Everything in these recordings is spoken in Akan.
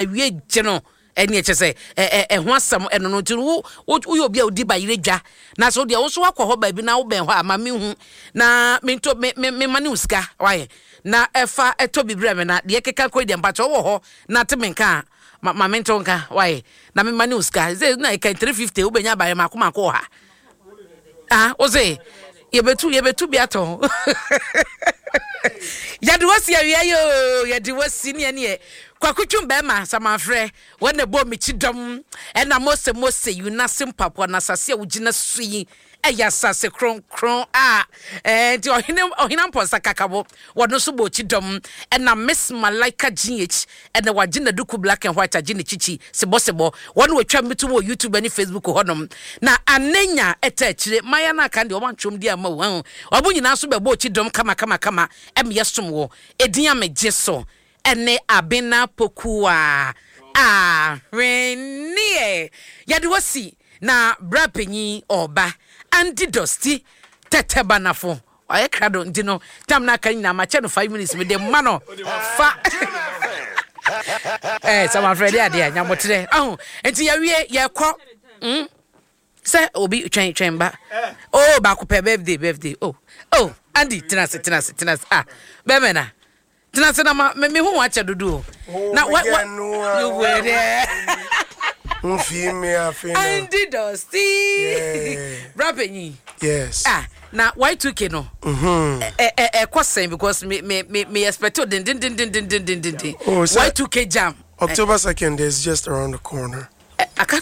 Awie gye no ɛne ɛkyɛ sɛ ɛho asɛm ɛno no nti wo woyɛ obi a wodi bayerɛ dwa na sɛ wodeɛ wo nso wakɔ hɔ baabi na wobɛn hɔ a ma mehu na mento me me me ma ne wo sika wayɛ na ɛfa ɛtɔ bi brɛ me na deɛ ɛkeka kɔ yi deɛ mpakyɛ wowɔ hɔ na te me nka a ma ma mento nka wayɛ na me ma ne wo sika sɛ na ɛka 350 wobɛnya bayerɛ mako mako wɔ ha. Ah, wo se yɛbɛtu yɛbɛtu bi atɔn. Yɛde wasi awia yi o, yɛde wasi neɛ neɛ. Kwaku twum bɛrima samanfrɛ, wɔn na ɛbɔ me kyi dɔm. Ɛna Mose Mose yi n'ase mpaboa na asase a wogyina so yi ɛyɛ asase kronkron a ɛɛ nti ɔhene ɔhene ampɔnsa kakabo wɔn nso bɔ akyi dɔm. Ɛna Miss Malaika GH Ɛnɛ wagye n'aduku black and white agye ne kyikyi sebɔsebɔ. Wɔn na wɔtwa me tom wɔ YouTube ne Facebook hɔnom. Na Anenya ɛta akyire. Mmaayewa no aka no deɛ wɔn antwerɛ wɔn din amma o. Wahu? Wɔn nyinaa nso bɛbɔ akyi dɔm kama kama kama ɛma yɛsom wɔ. Edin a megye so ɛne Abena Pokuaa Ahweneɛ. Yɛde wo asi na bra panyin ɔɔba Andy Dosty Tɛtɛbanafo. Wayɛ krado nti no tam no aka nyinaa makyɛ no 5 minutes mede ma no fa eh samafrɛ de adeɛ nyamoterɛ ahu nti yɛwie yɛkɔ mm sɛ obi twɛn twɛn ba oh baako pɛ birthday birthday oh oh Andy tena ase tena ase tena ase ah bɛmɛ na Tena ase na ma me me ho akyɛ dodo o. Na wa wa you were there. Nfi mi afe na. Andy Dosty. Bra panyin. Yes. Ah na Y2K no. Mhm. Ɛ ɛ ɛkɔ sɛn because me me me me expect o den den den den den den den den. Oh, Y2K jam. October 2nd is just around the corner. Aka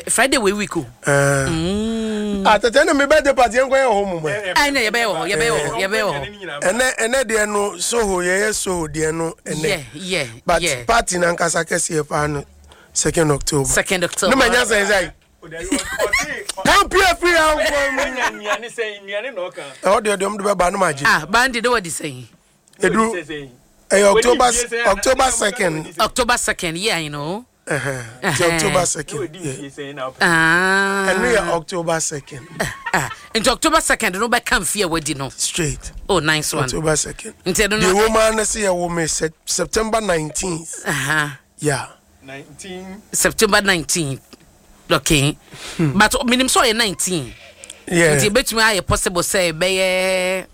Friday wei week o. Mm. Ah, tete na me birthday party yɛn kɔ yɛ wɔ hɔ mu mɛ. Ɛnna yɛbɛyɛ wɔ hɔ, yɛbɛyɛ wɔ hɔ, yɛbɛyɛ wɔ hɔ. Ɛnɛ ɛnɛ deɛ no Soho yɛyɛ Soho deɛ no ɛnɛ. Yeah, yeah, But yeah. party na nkasa kɛseɛ paa no second October. Second October. Ne ma nya sɛn sɛn. Kampia firi ha nkɔ mu. Ɛhɔ deɛ deɛ ɔmo de bɛba no ma gye. Ah, bandi de wɔ di sɛn. Edu ɛyɛ October October second. October second, yeah, I know. Nti October second. Ɛno yɛ October second. Nti October second no bɛka mfe a wadi no. Straight. Oh nice one. October second. Nti ɛno no. Deɛ wɔn ara no sɛ yɛwɔ me September 19th. Yeah. 19. September 19th. Okay. But minim sɛ ɔyɛ 19. Yeah. Nti ebetumi ayɛ possible sɛ ɛbɛyɛ.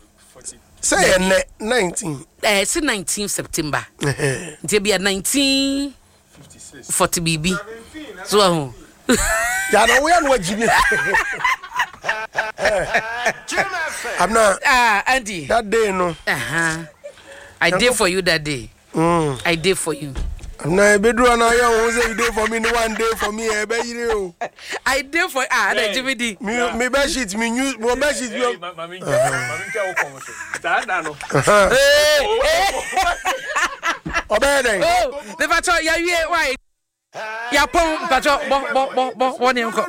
Sɛ yɛ nɛ 19. Ɛɛ si 19 September. Nti ebi yɛ 19. 40 biribi so ahu. Yana wo ya no agyi mi. Abna. Ah, Andy. That day no. Uh-huh. I did for you that day. I did for you. Abna ebeduru na ya wo say you dey for me no one day for me e be yire o. I did for ah na Jimmy di. Me me bed sheet me new me bed sheet mi. Mami mami ntwa wo kɔn so. Saa da no. Ɔbɛyɛ dɛn? Oh, mepakyɛ yɛawie wae. Yɛapɔn mpakyɛ bɔ bɔ bɔ bɔ bɔ ne nkɔ.